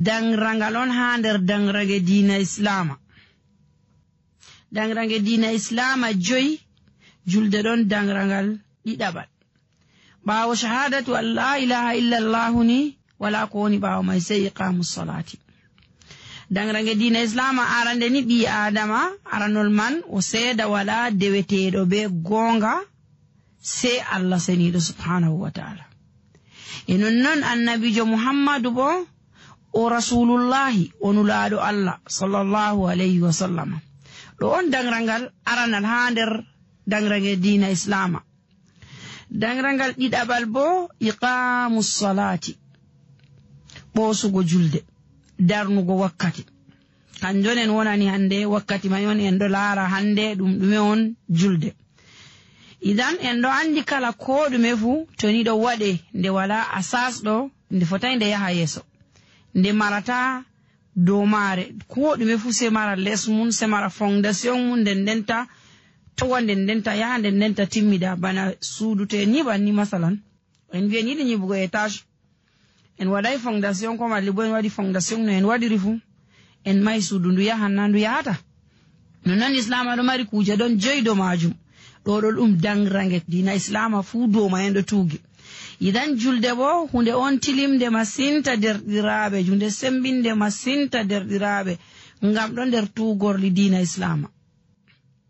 Dangrangal on ha nder dangrange diina islama. Dangrange diina islama 5 julde don dangrangal didabal. Bawo shahadatu an la ilaha illa Allah ni wala ko woni bawo mai sai iqamus salati. Dangrange diina islama arande ni bi adama aranol man o seeda wala deweteedo be gonga sai Allah senido subhanahu wa ta'ala. Enon non annabijo Muhammadu bo o rasulullahi onulaado Allah sallallahu alayhi wa sallam. Do on dangrangal aranal ha nder dangrange diina islama. Dangrangal didabal bo iqamus salati. Bosugo julde darnugo wakkati. Kanjonen wonani hande wakkati mayon en do laara hande dume on julde. Idan en do andi kala ko dume fu to ni do wade nde wala asas do nde fotay nde yaha yeso. Nde marata do mare ko dume fu se mara les mun se mara fondation mun dendenta to wonde dendenta yaha dendenta timmida bana sudute ni banni masalan en vie ni ni bugo etage en waday fondation ko malli bo en wadi fondation no en wadi rifu en may sudundu yaha nandu yahata non islam do mari kuje don joydo majum do dangrange dina islama fu do ma en do tugi. Idan julde bo hunde on tilimde masinta derdirabe junde sembinde masinta derdirabe ngam don der tugorli dina islama.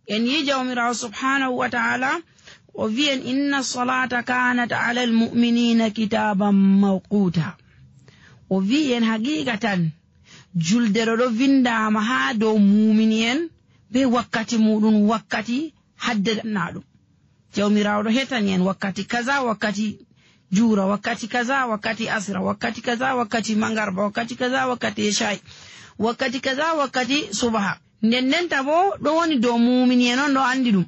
En yijawmira subhanahu wa ta'ala o vien inna salata kanat ala almu'minina kitaban mawquta. O vien hagigatan julde do vindama ha do mu'minien be wakkati mudun wakkati haddanaadum. Jawmira do hetani en wakkati kaza wakati jura wakati kaza wakati asra wakati kaza wakati mangarba wakati kaza wakati isha wakati kaza wakati subha nden tabo do woni do mu'minin on do andi dum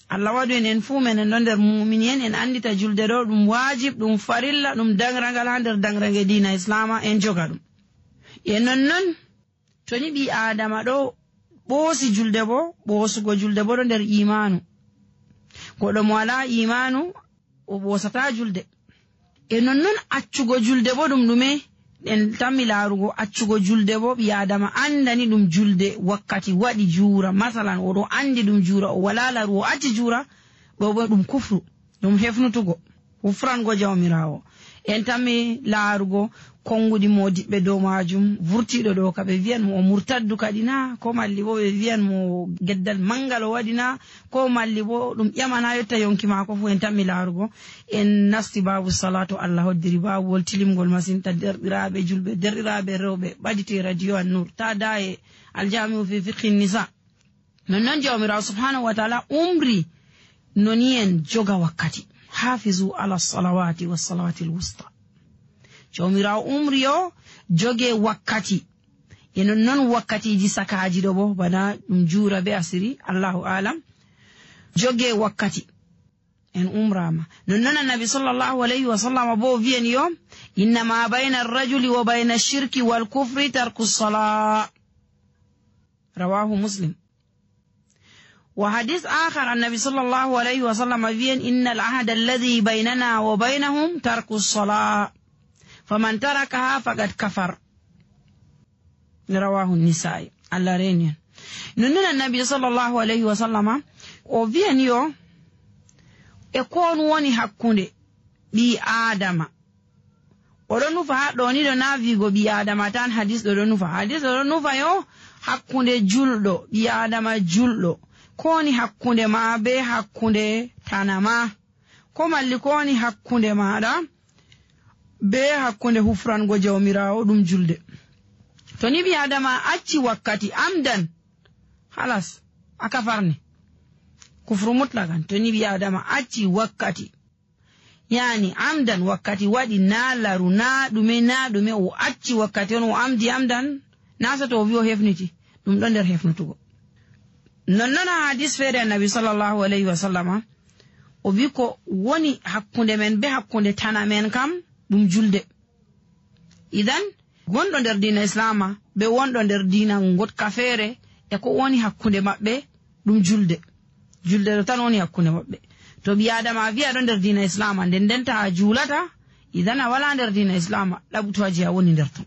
Allah wadu en fu men en der mu'minin en andita julde do dum wajib dum farilla dum dangrangal hander dangrange diina islama en joga dum non to ni bi adama do bosi julde bo bosugo julde bo do der imanu ko do mo wala imanu o bosata julde. Non accugo julde bo dum dume en tammi laarugo accugo julde bo bi adama andani dum julde wakkati wadi jura masalan o do andi dum jura o wala laru o acci jura bo dum kufru dum hefnutugo ufrango jawmirawo en tammi laarugo kongudi modibbe do majum vurtido do kabe vian mo murtaddu kadina ko malli bo be vian mo geddal mangalo wadina ko malli bo dum yamana yotta yonki mako fu en tammi laarugo en nasti babu salatu Allah hoddiri babu wol tilimgol masinta derdirabe julbe derdirabe rewbe badite radio an-nur ta daaye aljami'u fi fiqh an-nisa non jawmira subhanahu wa ta'ala umri nonien joga wakkati hafizu ala salawati was salawati al-wusta. Jawmira umriyo joge wakkati non wakkati ji sakaji do bo bana dum jura be asiri Allahu alam joge wakkati en umrama non annabi sallallahu alayhi wa sallam bo vien yo inna ma bayna ar-rajuli wa bayna ash-shirki wal kufri tarku as-salah rawahu muslim. وحديث آخر النبي صلى الله عليه وسلم فين إن العهد الذي بيننا وبينهم ترك الصلاة فمن تركها فقد كفر رواه النسائي على رينيان. نننا النبي صلى الله عليه وسلم وفين يو يكون وني حكوني بي آدم ودنو فها دوني دو نافيغو بي آدم تان حديث دونو فها يو حكوني جلدو بي آدم جلدو koni hakkunde ma be hakkunde tanama ko malli koni hakkunde maada be hakkunde hufrango jawmirawo dum julde. To ni bi adama acci wakkati amdan halas akafarni kufru mutlakan. To ni bi adama acci wakkati yani amdan wakkati wadi na laru na dume o acci wakkati on o amdi amdan nasa to wi'o hefniti dum don der hefnutugo. Non hadis fere annabi sallallahu alayhi wa sallam o biko woni hakkunde men be hakkunde tanamen kam dum julde. Idan gondo der diina islama be wondo der diina ngotka fere e ko woni hakkunde mabbe dum julde do tan woni hakkunde mabbe. To bi adama wi'a don der diina islama den ta julata idan wala der diina islama labuto aji woni der ton.